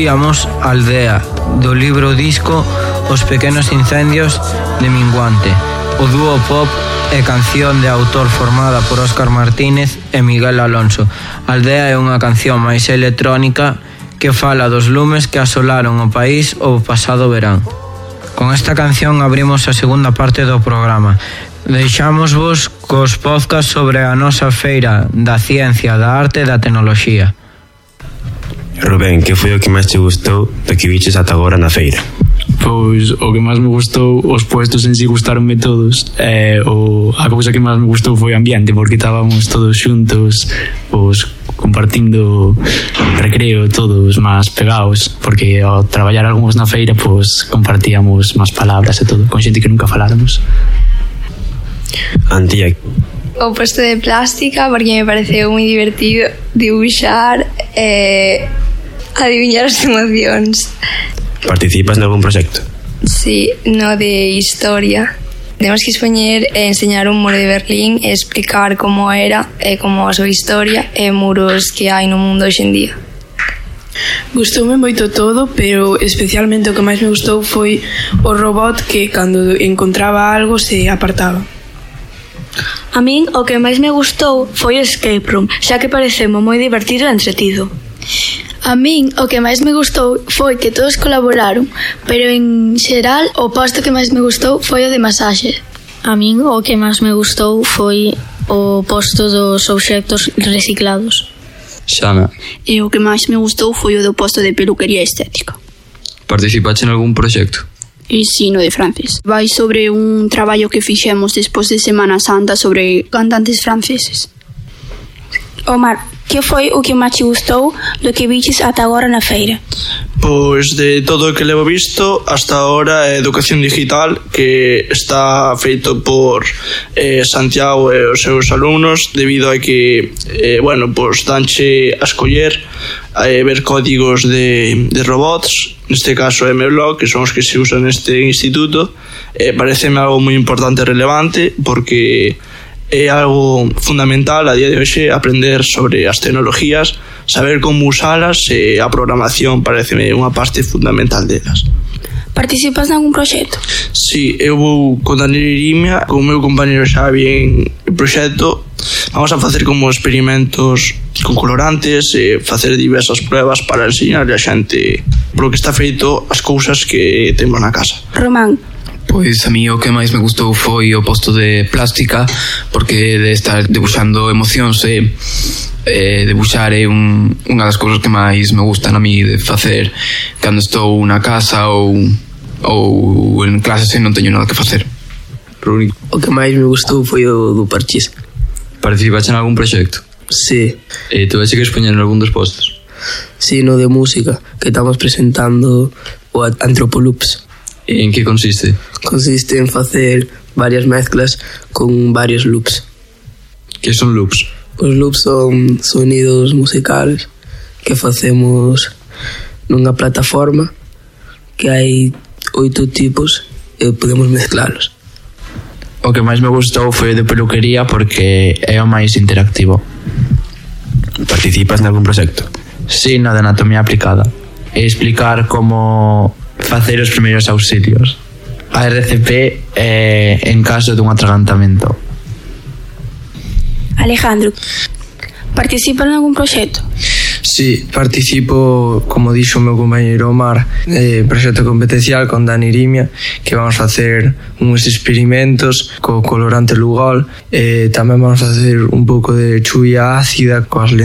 Escoitíamos Aldea, do libro disco Os pequenos incendios de Minguante, o dúo pop e canción de autor formada por Óscar Martínez e Miguel Alonso. Aldea é unha canción máis electrónica que fala dos lumes que asolaron o país o pasado verán. Con esta canción abrimos a segunda parte do programa. Deixámosvos cos podcasts sobre a nosa feira da ciencia, da arte e da tecnoloxía. Rubén, que foi o que máis te gustou do que viches ata agora na feira? Pois o que máis me gustou, os puestos en si gustaronme todos, a cousa que máis me gustou foi o ambiente, porque estábamos todos xuntos, pois compartindo recreo, todos máis pegados, porque ao traballar algúns na feira, pois compartíamos máis palabras e todo, con xente que nunca faláramos. Antía. O posto de plástica, porque me pareceu moi divertido dibuixar e adiviñar as emocións. Participas nalgún proxecto? Sí, no de historia. Temos que expoñer e enseñar un muro de Berlín e explicar como era e como a súa historia e muros que hai no mundo hoxe en día. Gustoume moito todo, pero especialmente o que máis me gustou foi o robot que cando encontraba algo se apartaba. A min o que máis me gustou foi o escape room, xa que pareceme moi divertido e entretido. A min o que máis me gustou foi que todos colaboraron, pero en xeral o posto que máis me gustou foi o de masaxe. A min o que máis me gustou foi o posto dos obxectos reciclados. Xana. E o que máis me gustou foi o do posto de peluquería estética. Participaste en algún proxecto? E si, no de francés. Vai sobre un traballo que fixemos despois de Semana Santa sobre cantantes franceses. Omar, que foi o que máis te gustou do que viches ata agora na feira? Pois de todo o que levo visto hasta agora é educación digital, que está feito por Santiago e os seus alumnos, debido a que pois danche a escoller ver códigos de robots, neste caso MBlock, que son os que se usan neste instituto. Pareceme algo moi importante e relevante, porque é algo fundamental a día de hoxe aprender sobre as tecnologías, saber como usalas, e a programación pareceme unha parte fundamental delas. Participas en algún proxecto? Sí, eu vou con Daniel Irimia, con o meu compañero Xavi en proxecto. Vamos a facer como experimentos con colorantes e facer diversas pruebas para enseñarle a xente polo que está feito as cousas que temos na casa. Román. Pois a mí o que máis me gustou foi o posto de plástica, porque de estar debuxando emocións e debuxar é unha das cousas que máis me gustan a mí de facer cando estou na casa ou en clases e non teño nada que facer. O que máis me gustou foi o do parchís. Participaste en algún proxecto? Sí. E tu vas a expoñer en algún dos postos? Sí, no de música, que estamos presentando o Antropoloops. E en que consiste? Consiste en facer varias mezclas con varios loops. Que son loops? Os loops son sonidos musicales que facemos nunha plataforma que hai 8 tipos e podemos mezclalos. O que máis me gustou foi o de peluquería, porque é o máis interactivo. Participas en algún proxecto? Sí, no de anatomía aplicada. E explicar como facer os primeiros auxilios, a RCP en caso dun atragantamento. Alejandro, participa en algún proxecto? Sí, participo, como dixo o meu compañeiro Omar, proxecto competencial con Dani Irimia, que vamos facer uns experimentos co colorante Lugol, e tamén vamos facer un pouco de chuvia ácida coas lentes